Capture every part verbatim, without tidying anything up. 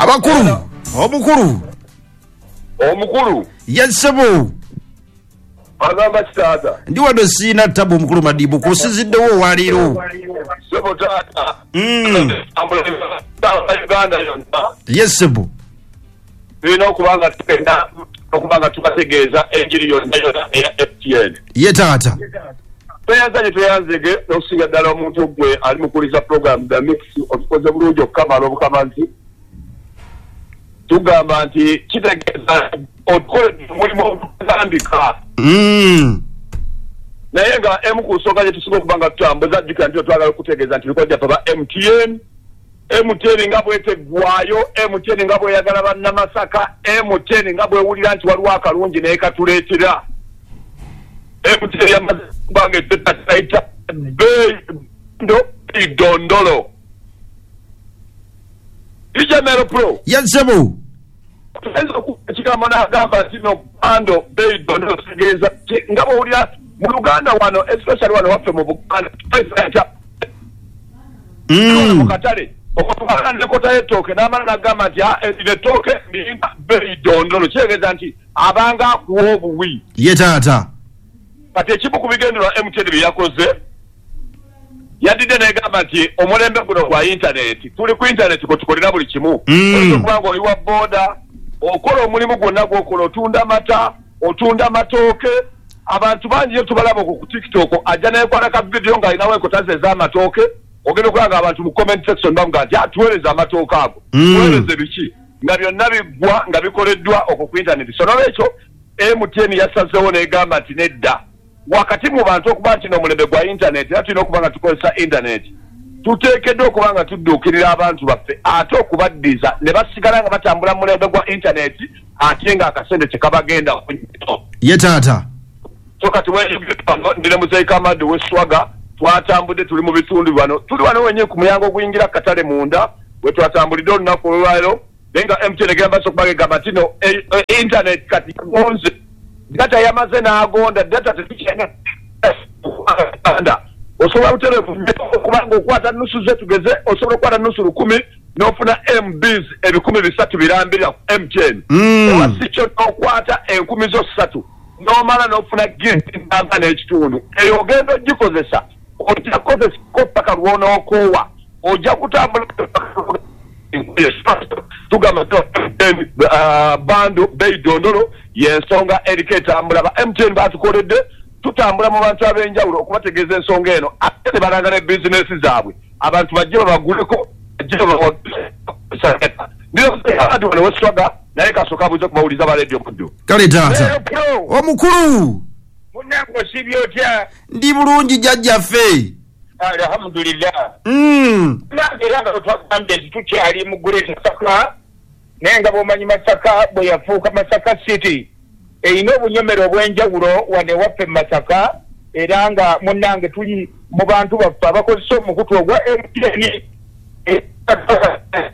Abakulu, omukulu. Omukulu. Yes sebo. Agamba kitaata. Ndi wano siina tabu omukulu Madibu kusiziddewo olwaleero. Sebo taata. Mm. Uganda yonna. Yes sebo. Tulina okuba nga tugenda okuba nga tubategeeza enjiri yonna yonna eya M T N. Ye taata. Tweyanza gye tweyanzege n'okusinga ddala omuntu gwe ali mukuliza program The Mix, otukoze bulungi okukamala obukamazi. Tugamba nti kitegeeza otukoledde omulimu ogutambika. Mm. Naye nga emu ku nsonga gye tusinga okuba nga tutambuza, jjukira nti twagala okutegeeza nti bikojja ffe ba M T N, M T N nga bweteggwayo, M T N nga bweyagala bannamasaka, M T N nga bwewulira nti waliwo akalungi naye katuleetera. M T N yamaze okuba nga etetaita ndo idondolo ijamero pro. Yes sebo. Tuyinza okuba ekigambo n'agamba nti no bundle bei dondolo kitegeeza ki? Nga bwowulira mu Luganda wano, especially wano waffe mu Buganda, tukozesa Mm. mu katale okutwala nekota y'ettooke n'amala n'agamba nti, "Ah, erino ettooke ndiyina bei dondolo," kitegeeza nti abanga akuwa obuwi. Ye taata. Kati ekimu ku bigendererwa M T N bye yakoze, yadidde n'egamba nti omulembe guno gwa intaneti, tuli ku intaneti kwe tukolera buli kimu. Mm. Oyinza okuba nga oli wa booda, okola omulimu gwonna gw'okola, otunda mata, otunda matooke. Abantu bangi yo tubalaba okwo ku TikTok, ajja nekwata ka vidiyo ng'alinawo enkota ze ez'amatooke, ogenda okulaba nga abantu mu comment section bamuga nti, "Atuweereza amatooke ago." Mm. Tuweereze biki nga byonna biggwa nga bikoleddwa okwo ku intaneti. So nolwekyo M T N yasazeewo n'egamba nti nedda, wakati mu bantu okuba nti n'omulembe gwa intaneti era tulina okuba nga tukozesa intaneti, tuteekeddwa okuba nga tudduukirira abantu baffe ate okubaddiza ne basigala nga batambula mu mulembe gwa intaneti ate ng'akasente tekabagenda nnyo. Ye taata. So kati ndine muzeyi Kamadi weswaga, twatambudde, tuli mu bitundu bano, tuli wano wenyini ku muyango oguyingira katale munda we twatambulidde olunaku olwaleero. Naye nga M T N egamba so okuba egamba nti no eh, eh, internet kati gonze, data yamaze n'agonda, data tetukyalina. Osobola butereevu okubanga okwata nusu ze, tugeze osobola okukwata nusu lukumi n'ofuna M Bs ebikumi bisatu birambirira ku M T N. Mm. Oba si kyo, n'okwata enkumi zo ssatu n'omala n'ofuna gig namba n'ekitundu. Eyo ogenda ogikozesa, ojja kukozesako paka lw'onookoowa, ojja kutambula. Tugamba bundle bei dondolo y'ensonga eriko etambula. Ba M T N batukoledde, tutambula mu bantu ab'enjawulo okubategeeza ensonga eno, ate ne balanga ne bizinesi zaabwe, abantu bajje babaguleko, bajje babadi. Wano weswaga naye kasooka abuuze kubawuliza ba Radio Muddu. Kale taata. Omukulu. Munnange, osibye otya? Ndi bulungi jjajjaffe. Alhamdulillah. Mm. Nange era nga twagambye nti tukyali mu Great Masaka, naye nga bw'omanyi Masaka bwe yafuuka Masaka City, erina obunyomero obw'enjawulo wano ewaffe mu Masaka. Era nga munnange tuli mu bantu baffe abakozesa omukutu ogwa M T N.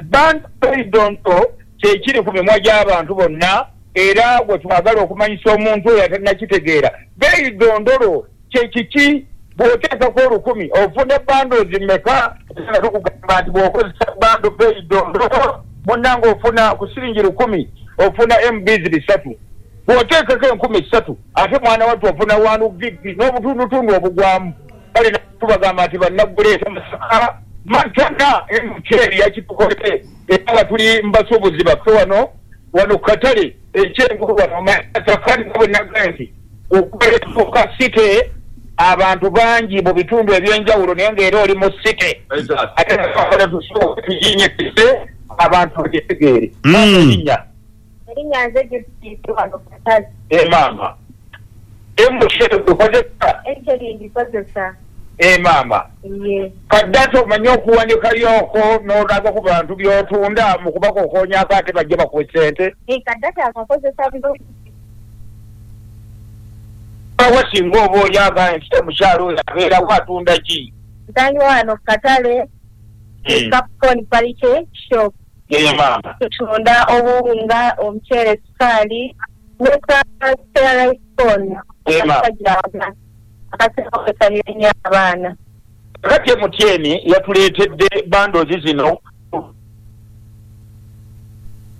Bundle dondolo kyekiri ku mimwa gy'abantu bonna, era gwe twagala okumanyisa omuntu oyo atannakitegeera beeyi dondolo kyekiki. Bw'oteekako olukumi ofuna bundles mmeka? Nga tukugamba nti bw'okozesa bundle beeyi dondolo, munnange, ofuna ku siringi lukumi ofuna M Bs bisatu. Bw'oteekako enkumi ssatu ate mwana wattu ofuna one gig n'obutundutundu obugwamu. Kale tubagamba nti bannaguleeta Masaka matana, M T N yakitukolere, era nga tuli mu basuubuzi baffe wano wano ku katale ekyenkulu wano Masaka. Nga bwe nagambye nti okutuuka city, abantu bangi mu bitundu ebyenjawulo, naye ng'era oli mu city, ate tuginyekise abantu bagitegeere. Mm. Erinnya? Erinnya nze Judith, wano ku katale. E maama, M T N okozesa? M T N ngikozesa. E maama. Ye. Ka data omanyi okuwanikayoko n'olaga ku bantu by'otunda mu kubakokoonyako ate bajje bakuwe sente? Eh, ka data akakozesa bulungi. Awa singa oba oli agamba nti omukyalo oyo abeerawo atunda ki? Ntandika wano ku katale, Capricorn Parike Shop. Ye maama. Tutunda obuwunga, omuceere, sukaali ne ka rice corn. Ye maama. Akaseera ennyo abaana. Kati M T N yatuleetedde bundles zino.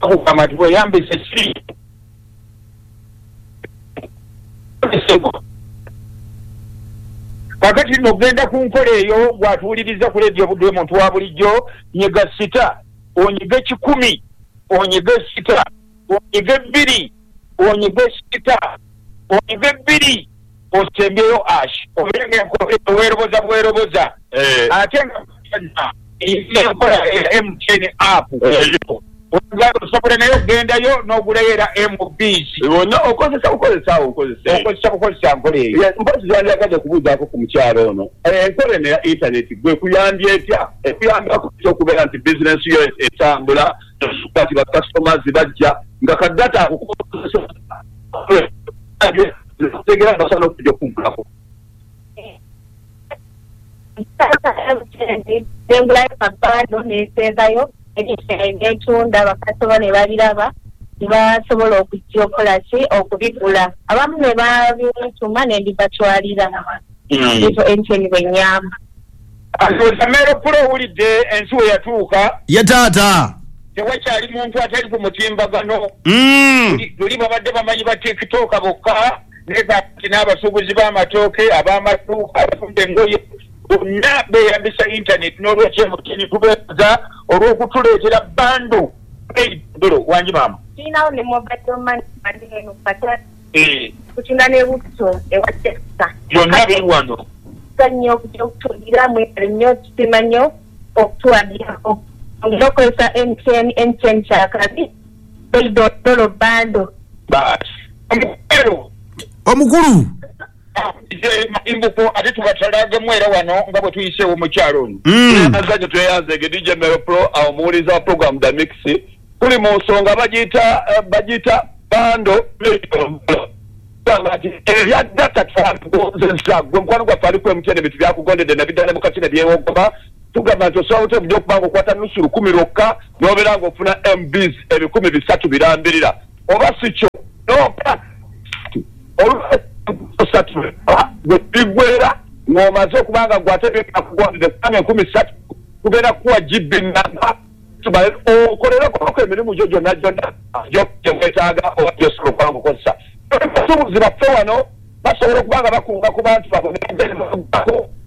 Akugamba nti weyambise si kakati nno ogenda ku nkola eyo gwatuwuliriza ku leediyo Buddu omuntu wa bulijjo, nyiga sita onyige kikumi onyige sita onyige bbiri onyige sita onyige bbiri osembyeyo ash obeere ng'enkola weeroboza bweroboza. Ate nga enkola ya M T N app osobola naye okugendayo n'ogulayo era M Bs bonna okozesa bukozesa awo okozesa okozesa bukozesa nkola eyo. Mpozi yandiyagadde okubuuzaako ku mukyalo ono, enkola eno ya intaneti gwe kuyambye etya? Ekuyambako okubeera nti bizinensi yo etambula, kati bakasitomazi bajja nga kadata akukozesa tegera basobola okujja okugulako. Nengulayo kabando nesenzayo netunda, bakasitoma ne babiraba ne basobola okujja okukola ki okubigula, abamu ne babituma ne mbibatwalira. Ekyo M T N bwe nnyamba. Alowooza Pula owulidde ensi we yatuuka. Ye taata tewakyali muntu atali ku mutimbagano. Luli babadde bamanyi ba TikTok bokka, naye kati n'abasuubuzi b'amatooke, ab'amaduuka, abatunda engoye bonna beeyambisa internet. N'olwekyo M T N tubeebaza olw'okutuleetera bando dolo. Wangi maama? Tulinawo ne mobile money eno kata kutunda ne butto ewa Texas. Byonna biri wano. Nnyo okujja okutundira mwebale nnyo, tusiima nnyo okutuwagira. Okukozesa M T N, M T N kyakabi dolo bando. Basi omukulu omukulu imbuko ate tubatalagemu era wano nga bwe tuyiseewo mukyalo ono. Azanyo tweyanzege D J Mero Pro awo muwuliza wa program The Mix. Tuli mu nsonga bagiyita bagiyita bando ebya data twakozesa. Gwe mukwano gwaffe ali ku M T N ebintu byakugondedde nabiddala mu kati ne byewogoma. Tugamba nti osobola otya okujja okuba nga okwata nusu lukumi lwokka n'obeera ng'ofuna M Bs ebikumi bisatu birambirira, oba si kyo n'opa olusatu gwe bigwera ng'omaze okuba nga gwe ate byakugondedde kubanga enkumi ssatu tugenda kukuwa G B namba okolereko emirimu gyo gyonna gyonna gye weetaaga oba gy'osobola okuba ng'okozesa. Abasuubuzi baffe wano basobola okuba nga bakunga ku bantu baabwe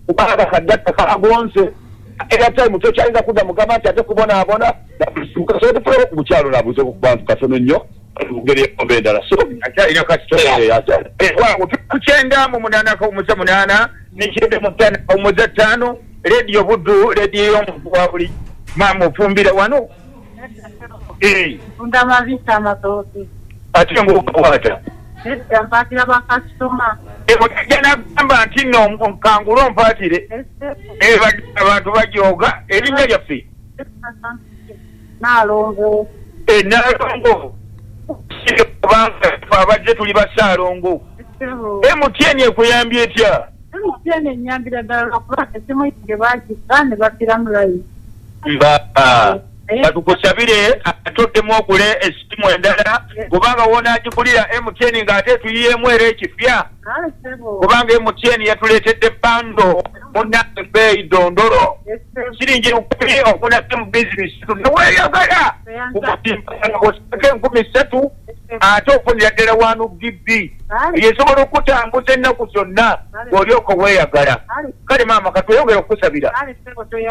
kubanga kadata kagonze airtime tokyayinza kudda mugamba nti ate kubonaabona. Kasobola tufulewo ku mukyalo naabuuze ku bantu katono nnyo mu ngeri oba endala. So akyalina kasitoma ku kyenda mu munaana akawummuza munaana ne kyenda mu ttaano akawummuza ttaano. Leediyo Buddu, leediyo y'omuntu wa buli. Maama ofumbira wano? Nfunda amabisi amatooke. Ate ng'okwata? Nedda mpaatira bakasitoma. Ojja n'agamba nti nno nkangule ompaatire. Abantu bajooga. Erinnya lyaffe? Nnaalongo. Nnaalongo. Kubanga abazze tuli basaalongo. M T N ekuyambye etya? M T N ennyambira ddala lwakuba essimu yange baagissa ne baddiramu layini. Mba batukusabire atoddemu okule essimu endala, kubanga w'onaagigulira M T N ng'ate tuyiyeemu era ekipya, kubanga M T N yatuleetedde bando munnange bbeeyi dondolo siringi lukumi ofuna M Bs bisatu neweeyagala osako enkumi ssatu ate ofunira ddala wanu G B esobola okutambuza ennaku zonna ng'olyoka weeyagala. Kale maama katweyongere okukusabira.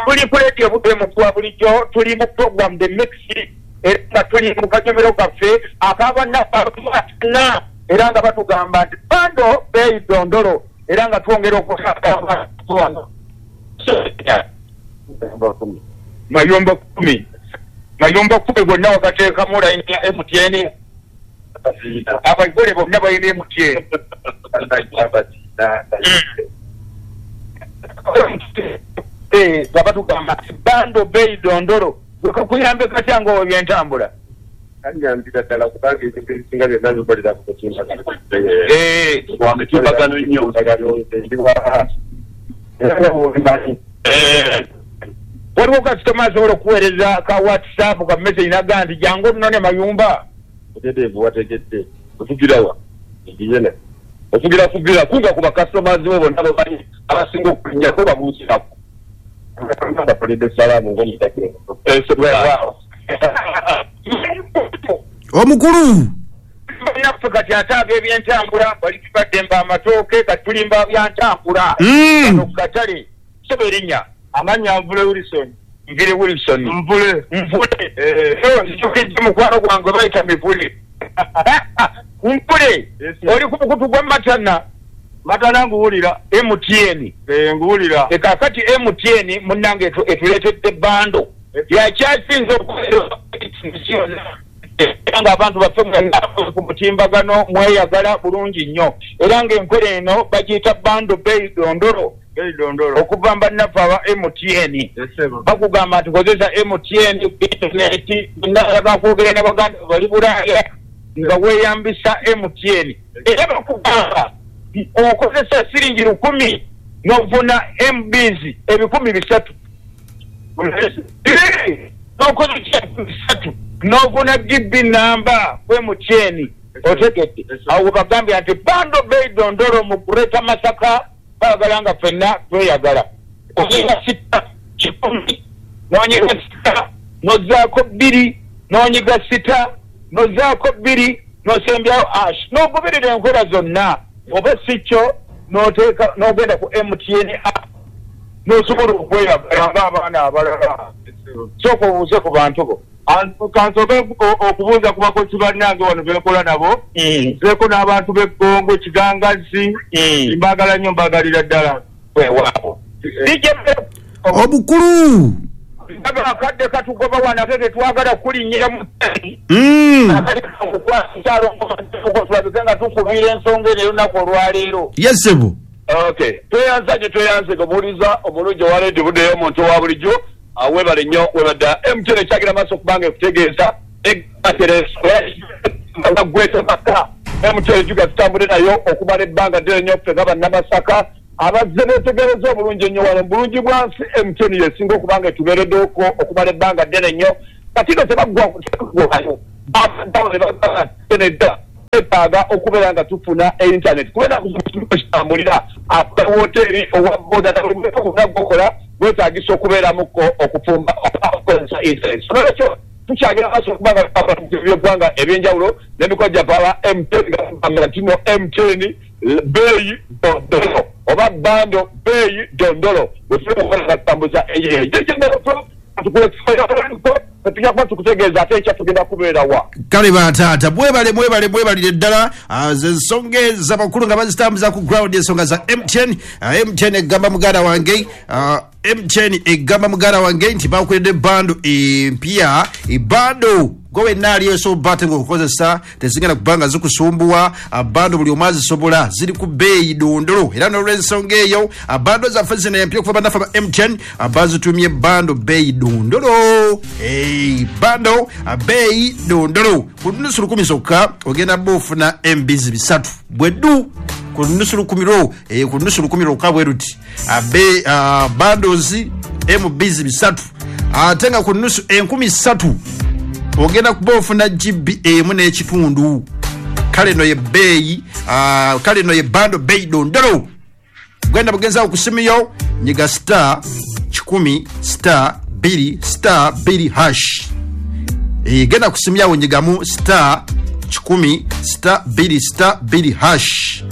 Tuli ku leediyo Buddu omuntu wa bulijjo, tuli mu program The Mix era nga tuli mu kanyomero kaffe ak'abannaffe era nga batugamba nti bando bbeeyi dondolo era nga twongera okusaba wano. Mayumba kumi mayumba kumi gonna wagateekamu layini ya M T N. Abagole bonna balina M T N. Nga batugamba nti bando bbeeyi dondolo gwe kakuyambe katya nga ebyentambula? Kanyambira ddala kubanga ebintu ebisinga byonna bikolera ku mutimbagano. Wa mitimbagano nnyo. Waliwo kasitoma asobola okuweereza ka WhatsApp ka message n'agamba nti jangu onnone mayumba. Oteteevu wategedde. Otugira wa? Ngiyene. Otugira kugira kunga ku bakasitomazi bo bonna bamanyi abasinga okulinnyako babuukirako. Bakulidde salaamu ng'omutakiro. Weewaawo. Omukulu naffe kati ate ab'ebyentambula bali tubaddemba amatooke kati tulimba byantambula Mm. ku katale seba erinnya Amannya Nvule Wilson. Nvire Wilson. Nvule. Nvule. Eh. Nzijukidde mukwano gwange bayita Mivule. Nvule. Yes, sir. Oli ku mukutu gwa Matana. Matana nguwulira. M T N. Eh, nguwulira. E kaakati M T N munnange etu- etuleetedde bando yakyasinze okubeera era ng'abantu baffe mwenna ku mutimbagano mweyagala bulungi nnyo era ng'enkola eno bagiyita bando bei dondolo. Bei dondolo. Okuva mu bannaffe aba M T N. Yes, sir. Bakugamba nti kozesa M T N ku internet naddala kwogera ne baganda bali Bulaaya nga weeyambisa M T N. Era bakugamba okozesa siringi lukumi n'ofuna M Bs ebikumi bisatu. N'okozesa bisatu n'ofuna G B namba ku M T N. Otegedde. Awo bagambye nti bando bei dondolo mu Greater Masaka baagala nga ffenna tweyagala. Ozinga sita kikumi n'onyiga sita n'ozzaako bbiri n'onyiga sita n'ozzaako bbiri n'osembyayo ash n'ogoberera enkola zonna oba si kyo n'oteeka n'ogenda ku M T N app n'osobola okweyagala ng'abaana abalala. Sooka obuuze ku bantu bo. Kansooke okubuuza ku bakozi bannange wano be nkola nabo. Nzeeko n'abantu b'Eggongo, Kigangazi. Mbaagala nnyo, mbaagalira ddala. Weewaawo. Omukulu akadde katugoba wano ate tetwagala kulinnyira mu Mm. tulabike nga tukubira ensonga eno olunaku olwaleero. Yes, sebo. Okay, tweyanza gye tweyanze omuwuliza omulungi owa leediyo buddeyo omuntu owa bulijjo. Weebale nnyo webadda M T N ekyagira maaso okubanga ekutegeeza gweta maka M T N juga tutambule nayo okumala ebbanga ddene nnyo ffe nga bannamasaka abazze beetegereza obulungi ennyo wano mu bulungi bwa nsi. M T N yesinga okubanga etubeereddeko okumala ebbanga ddene nnyo. Kati no tebaggwayo nedda twetaaga okubeera nga tufuna internet kubeera kitambulira akola woteeri owa boda gokola gwetaagisa okubeeramuko okufumba okukozesa internet. So nolwekyo tukyagenda maaso okubanga byeggwanga ebyenjawulo n'emikono gyaffe aba M T N nga nti no M T N beeyi dondolo oba bando beeyi dondolo bwe tuli okukola nga tutambuza eyeeyo tujja kuba tukutegeeza ate ekya tugenda kubeera wa. Kale bataata mwebale mwebale mwebalire ddala. Ze ensonga ez'abakulu nga bazitambuza ku ground, ensonga za M T N. M T N egamba muganda wange, M T N egamba muganda wange nti bakuledde bando empya. Ebando gwe wenna ali osobola ate ng'okukozesa tezigenda kubanga zikusumbuwa. Bando buli omu azisobola, ziri ku bbeeyi dondolo. Era n'olw'ensonga eyo bando zaffe zino empya okuva bannaffe ba M T N bazitumye bando bbeeyi dondolo. Bando bbeeyi dondolo ku nusu lukumi zokka ogenda bba ofuna M Bs bisatu bweddu ku nusu lukumi lwo ku nusu lukumi lwokka bwe luti bandos M Bs bisatu ate nga ku nusu enkumi ssatu ogenda kuba ofuna G B emu n'ekitundu. Kale no ye bbeeyi, kale no ye bando bbeeyi dondolo. Genda bugenza okusimuyo nyiga star kikumi star bbiri star bbiri hash. E, genda kusimyawo nyigamu star kikumi star bbiri star bbiri hash.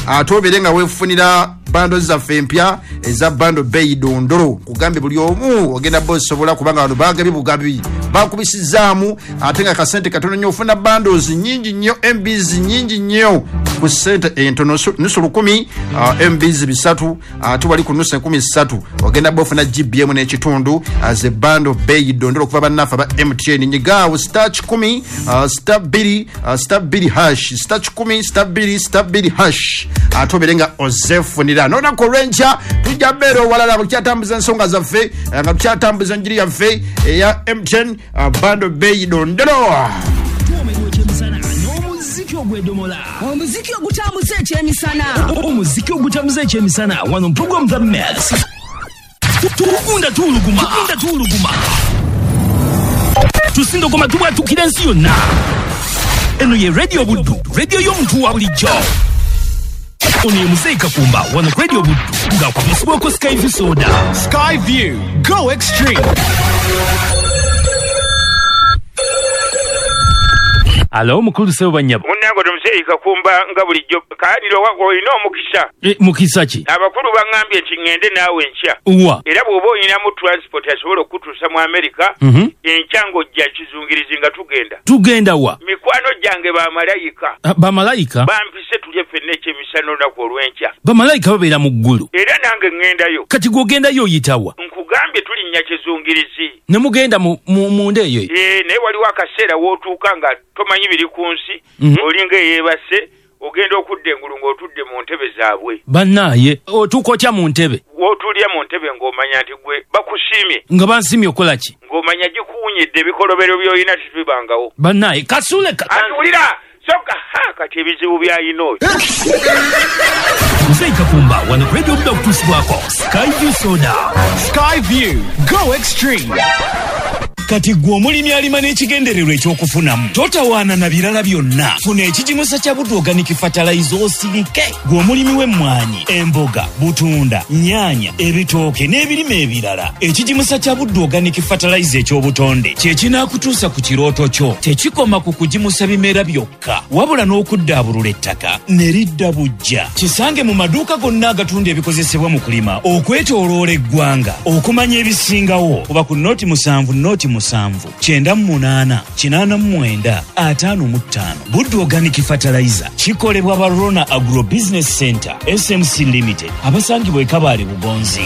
Ate obeere nga weefunira bando zaffe empya eza bando bbeeyi dondolo. Kugambe buli omu ogenda bba osobola kubanga bano bagabye bugabi bakubisizaamu ate nga kasente katono nnyo ofuna bandos nnyingi nnyo M Bs nnyingi nnyo ku ssente entono nusu lukumi uh, M Bs bisatu ate uh, wali ku nusu enkumi ssatu ogenda bba ofuna G B M n'ekitundu ze bando bbeeyi dondolo okuva bannaffe aba M T N. Nyigaawo star kikumi uh, star bbiri uh, star bbiri hash star kikumi star bbiri star bbiri hash ate obeere nga ozeefunira. N'olunaku olw'enkya tujja mbeera owalala nga tukyatambuza ensonga zaffe nga tukyatambuza enjiri yaffe eya M T N bando bbeeyi dondolo. Omuziki ogw'edomola, omuziki ogutambuza ekyemisana, omuziki ogutambuza ekyemisana wano mu program The Mix. Tugunda tuuluguma, tugunda tuuluguma, tusindokoma tubwatukira ensi yonna. Eno ye Radio Buddu, radio y'omuntu wa bulijjo. Ono ye Muzeeyi Kakumba wano ku Radio Buddu ng'akubisibwako Sky View Soda. Sky View, go extreme. Alo, mukulu sebo banyabo. Munnange Omuzeeyi Kakumba, nga bulijjo kaanira olina omukisa. E, mukisa ki? Abakulu baŋŋambye nti ŋŋende naawe enkya. Wa? Era bw'oba olinamu transport asobola okutuusa mu Amerika, mm -hmm. enkya ng'ojja kizungirizi nga tugenda. Tugenda wa? Mikwano gyange bamalayika. Bamalayika? Bampise tulye ffenna ekyemisana olunaku olw'enkya. Bamalayika babeera mu ggulu. Era nange ŋŋendayo. Kati gw'ogendayo oyitawa? Nkugambye tulinnya kizungirizi. Ne mugenda mu, mu, munda eyo? Ee, naye waliwo akaseera w'otuuka nga tomanyi biri ku nsi, mm -hmm. olinga eyeebase, ogenda okudda engulu ng'otudde mu ntebe zaabwe. Bannaaye, otuuka otya mu ntebe? W'otuulya mu ntebe ng'omanya nti gwe bakusiimye. Nga bansiimye okola ki? Ng'omanya gikuwunyidde ebikolobero by'olina tebibangawo. Bannaaye, kasule ka... Atuwulira! Soka, ha, kati ebizibu by'alina oyo. Muzeeyi Kakumba, wano Radio Buddu okutuusibwako Sky View Soda. Sky View, go extreme. Kati gwe omulimi alima n'ekigendererwa ekyokufunamu, totawaana na birala byonna. Funa ekigimusa kya Buddu Organic Fertilizer osirike. Gwe omulimi w'emmwanyi, emboga, butunda, nnyaanya, ebitooke n'ebirime ebirala, ekigimusa kya Buddu Organic Fertilizer eky'obutonde kye kinaakutuusa ku kirooto kyo. Tekikoma ku kugimusa bimera byokka, wabula n'okuddaabulula ettaka ne lidda buggya. Kisange mu maduuka gonna agatunda ebikozesebwa mu kulima okwetooloola eggwanga. Okumanya ebisingawo kuba ku noti musanvu noti musanvu kyenda mu munaana kinaana mu mwenda ataano mu ttaano. Buddu Organic Fertilizer kikolebwa ba Rona Agro Business Center S M C Limited, abasangibwa e Kabaale Bugonzi.